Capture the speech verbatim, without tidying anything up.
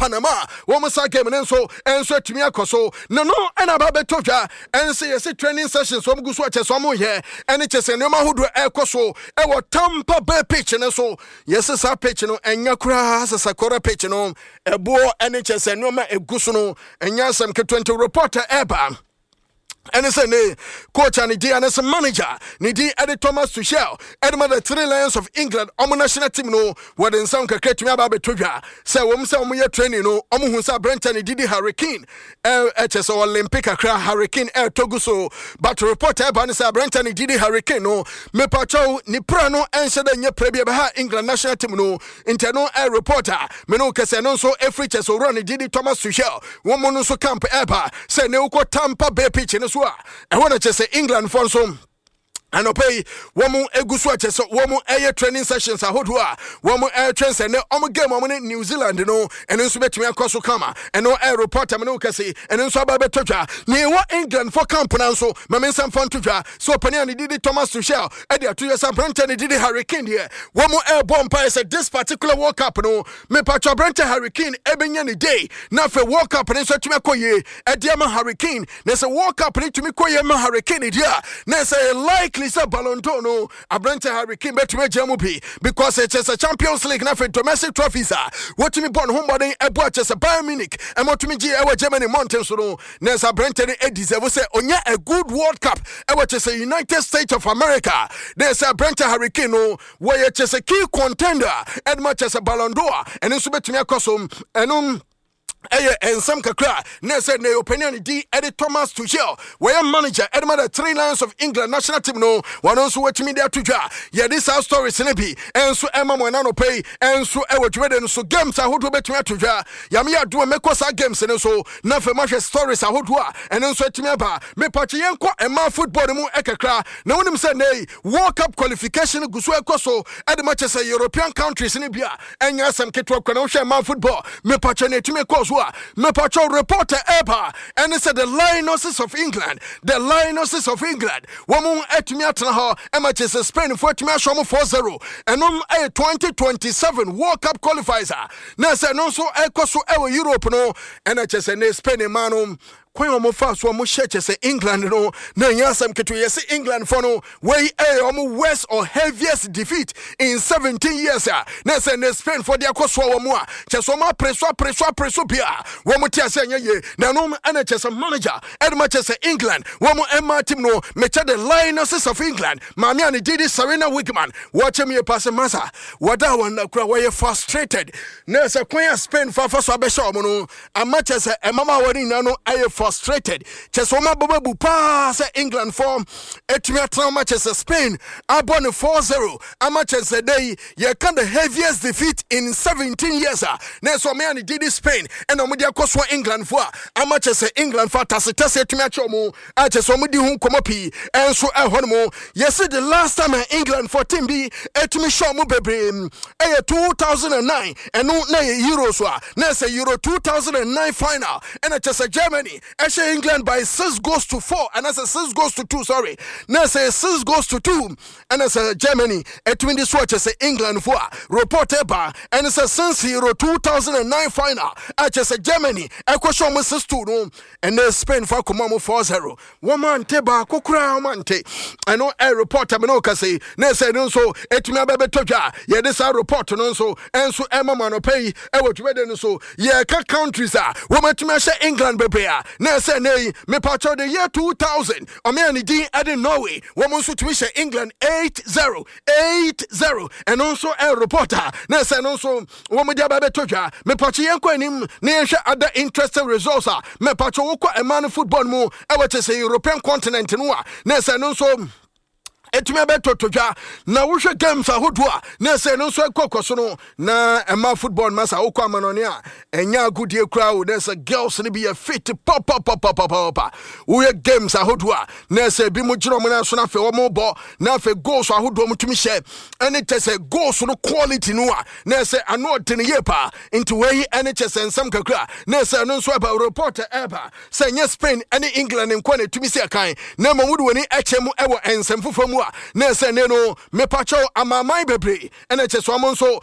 Panama wɔn sa game no nso ɛnso atumi akɔ so na no ɛna aba bɛtɔ dwa. Ɛnso yɛsɛ training sessions wɔn gu so akyɛ sɛ wɔn yɛ, ɛne kyɛ sɛ nneɛma ahodoɔ ɛrekɔ so ɛwɔ Tampa Bay pitch no so. Yɛsɛ saa pitch no ɛnya koraa sɛ sakora pitch no ɛboɔ, ɛne kyɛ sɛ nneɛma egu so no ɛnya asɛm ketewa. Nti report ɛɛba ɛne sɛ ne coach a ne din ane sɛ manager ne din ɛde Thomas Tuchel ɛde ma the Three Lions of England, ɔmo national team no, wɔde nsɛm kakra tumi aba abɛtɔ dwa sɛ wɔm sɛ ɔmo yɛ training no, ɔmo hu sɛ aberɛnkyɛ ne didi Harry Kane ɛkyɛ sɛ Olympic kakra, Harry Kane ɛɛtɔ gu so. But report ɛba ne sɛ aberɛnkyɛ ne didi Harry Kane no, mepakyɛw, ne pra no ɛnhyɛ dɛ nyɛ pra bi ɛbɛha England national team no. Nti ɛno ɛ report a me no kɛsɛ no nso ɛfiri kyɛ sɛ owura ne didi Thomas Tuchel wɔn mo no nso camp ɛɛba sɛ ne wokɔ Tampa Bay pitch no so a, ɛhɔ na kyɛ sɛ England fɔ nso anɔpɛ yi wɔn egu so akyɛ sɛ wɔn ɛyɛ training sessions ahodoɔ a wɔn ɛretwɛn sɛ ne wɔn game wɔn ne New Zealand no, ɛno nso bɛtumi akɔ so kama. Ɛno ɛyɛ report ɛmo ne kɛse, ɛno nso aba bɛtɔ dwa. Ne ɛwɔ England fo camp na nso maame nsa mfa nto dwa so ɔpanin a ne didi Thomas Tuchel ɛde ato yɛ sɛ aberantɛ ne didi Harry Kane deɛ, wɔn ɛrebɔ mpaeɛ sɛ this particular World Cup no, mepatwa, aberantɛ Harry Kane ɛbɛnya ne day na afei World Cup no nso atumi akɔ yie ɛde ama Harry Kane. Na sɛ World Cup no tumi kɔ yie ma Harry Kane deɛ a, na sɛ likely sɛ Ballon d'Or no, aberantɛ Harry Kane bɛtumi agyina mu bi, because ɛkyɛ sɛ Champions League na afei domestic trophies a wɔtumi bɔ ne ho mmɔden ɛbɔ akyɛ sɛ Bayern Munich ɛma ɔtumi gye ɛwɔ Germany mmɔnten so no, na sɛ aberantɛ no deserve sɛ ɔnya a good World Cup ɛwɔ kyɛ sɛ United States of America, na sɛ aberantɛ Harry Kane no wɔyɛ kyɛ sɛ key contender ɛde ma kyɛ sɛ Ballon d'Or, ɛno nso bɛtumi akɔ so. Ɛno ɛyɛ nsɛm kakra na sɛ ne ɔpanin a ne din ɛde Thomas Tuchel, wɔyɛ manager ɛde ma the Three Lions of England national team no, wɔno nso wɔatumi de ato dwa. Yɛde saa stories no bi ɛnso ɛma mo ɛna nɔpɛ yi ɛnso ɛwɔ dwumadi no so. Games ahodoɔ bɛtumi ato dwa. Yame yɛ adoma mɛkɔ saa games no so na afei mahwɛ stories ahodoɔ a ɛno nso atumi aba. Mepakye, yɛnkɔ ɛma football no mu ɛkakra na wonim sɛ nnɛ World Cup qualification gu so ɛkɔ so ɛde ma kyɛ sɛ European countries no bi a ɛnyɛ asɛm ketewa kora. Na wohwɛ ɛma football, mepatwɛ, ne ɛtumi kɔɔ so a, mepatwɛ, report ɛba ɛne sɛ the Lionesses of England, the Lionesses of England, wɔn atumi atena hɔ ɛma kyɛ sɛ Spain fo atumi ahyɛ wɔn four zero. Ɛnom ɛyɛ twenty twenty-seven World Cup qualifiers a na sɛ ɛno nso ɛkɔ so ɛwɔ Europe no, ɛna kyɛ sɛ ne Spain ma no kwan a wɔfa so a wɔhyɛ kyɛ sɛ England no na ɛnyɛ asɛm ketewa. Yɛsɛ England fo no, wei ɛyɛ wɔn worst or heaviest defeat in seventeen years a na sɛ ne Spain fo de akɔ soa wɔn a kyɛ sɛ wɔn apere so, apere so, apere so bia wɔn te ase ɛnyɛ yie. Na ɛno ɛna kyɛ sɛ manager ɛde ma kyɛ sɛ England wɔn ɛma team no, mekyɛ the Lionesses of England, maame a ne din de Sarina Wiegman, wɔkyɛ mu yɛ paase masa wɔda wɔn nakura wɔyɛ frustrated na sɛ kwan a Spain fa fa so abɛhyɛ wɔn no ama kyɛ sɛ ɛmama wɔn nyinaa no ayɛ frustrated, kyɛ sɛ wɔn abɔ bu paa sɛ England fɔ etumi atena wɔn akyɛ sɛ Spain abɔ ne four zero ama kyɛ sɛ dɛ yi yɛka the heaviest defeat in seventeen years a na ɛsɛ ɔmo yɛ ne didi Spain ɛna ɔmo de akɔ soa England fo a ama kyɛ sɛ England fo atasetɛsɛ etumi akyɛ ɔmo a kyɛ sɛ ɔmo di ho nkɔmɔ pii. Ɛnso ɛhɔ nom yɛsi the last time a England fo team bi etumi hyɛ ɔmo bebree ɛyɛ two thousand and nine. Ɛno na yɛ Euro so a na ɛsɛ Euro two thousand and nine final, ɛna kyɛ sɛ Germany ɛhyɛ England by six goals to four, ɛna sɛ six goals to two, sorry, na sɛ six goals to two ɛna sɛ Germany ɛtumi de so akyɛ sɛ England fo a report ɛba ɛne sɛ since Euro two thousand and nine final akyɛ sɛ Germany ɛkɔhyɛ ɔmo six two no, ɛnɛ Spain fa akɔma ɔmo four zero. Wɔn ante baako koraa, wɔn ante. Ɛno ɛ report ɛmɛ no kasa na ɛsɛ ɛno nso ɛtumi abɛbɛtɔ dwa. Yɛde saa report no nso ɛnso ɛma mo anɔpɛ yi ɛwɔ dwumadi no so. Yɛka countries a wɔn atumi ahyɛ England bebree a na ɛsɛ ɛnɛ yi, mepatwɛ, the year two thousand, ɔmo a ne din ɛde Norway, wɔn nso tumi hyɛ England eight zero, eight zero. Ɛno nso ɛ report a na ɛsɛ ɛno nso wɔn de aba bɛtɔ dwa. Mepatwɛ, yɛn kɔ anim na yɛnhwɛ other interesting results a mepatwɛ wokɔ ɛmaa no football mu ɛwɔ kyɛ sɛ European continent no a na ɛsɛ ɛno nso ɛtumi abɛtɔtɔ dwa. Na wohwɛ games ahodoɔ a na ɛsɛ no nso ɛkɔ kɔ so no na ɛma football ma sa wokɔ amanɔne a, ɛnyɛ agodie koraa o. Na ɛsɛ girls no bi yɛ fit papapapapapa. Woyɛ games ahodoɔ a na ɛsɛ ebi mu gyina ɔmo nan so na afei wɔn bɔ na afei goals ahodoɔ mo tumi hyɛ, ɛne kyɛ sɛ goals no quality no a na ɛsɛ ano ɔden yie paa. Nti wei ɛne kyɛ sɛ nsɛm kakra na ɛsɛ ɛno nso ɛba report ɛba sɛ ɛnyɛ Spain ɛne England nko na ɛtumi si ɛkan, na mmom wode w'ani ɛkyɛ mu ɛwɔ nsɛm foforɔ mu a na ɛsɛ ne no, mepakyɛw, amaaman bebree ɛna kyɛ sɛ ɔmo nso